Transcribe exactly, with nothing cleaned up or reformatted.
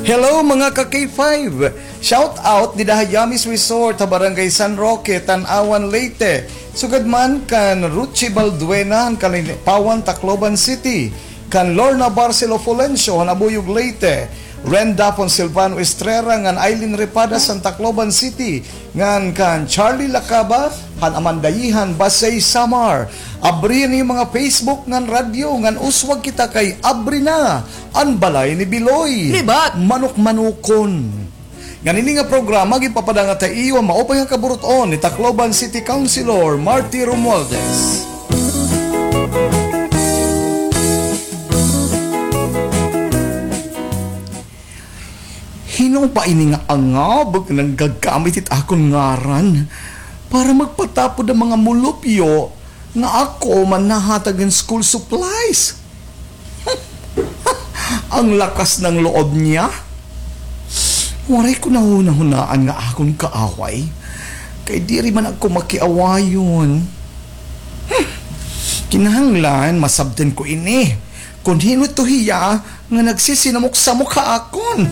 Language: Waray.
Hello, mga ka K five! Shout out dida ha Yummies Resort ha Barangay San Roque, Tanauan, Leyte. Sugad man kan Ruchi Balduena han Kalinpawan, Tacloban City, kan Lorna Barcelo Fulencio han Abuyog, Leyte, Ren Dapon, Silvano Estrera ngan Aileen Repadas han Tacloban City, ngan kan Charlie Lacaba han Amandayihan, Basey, Samar. Abri an iyo mga Facebook ngan radyo ngan uswag kita kay abri na an balay ni Biloy. Libat. Manok-manokon. Ngan ini nga programa ginpapadangat ha iyo an maupay nga kaburut-on ni Tacloban City Councilor Marty Romualdez. Hin-o ba ini nga angab nga nanggagamit hit akon ngaran para magpatapod han mga mulupyo nga ako man nahatag hin school supplies? An lakas ng loob niya. Waray ko nahunahunaan nga akon kaaway. Kay diri man ako makiawayon. Hmm. Kinahanglan masabtan ko ini. Kon hin-o ito hiya nga nagsisinamok-samok ha akon.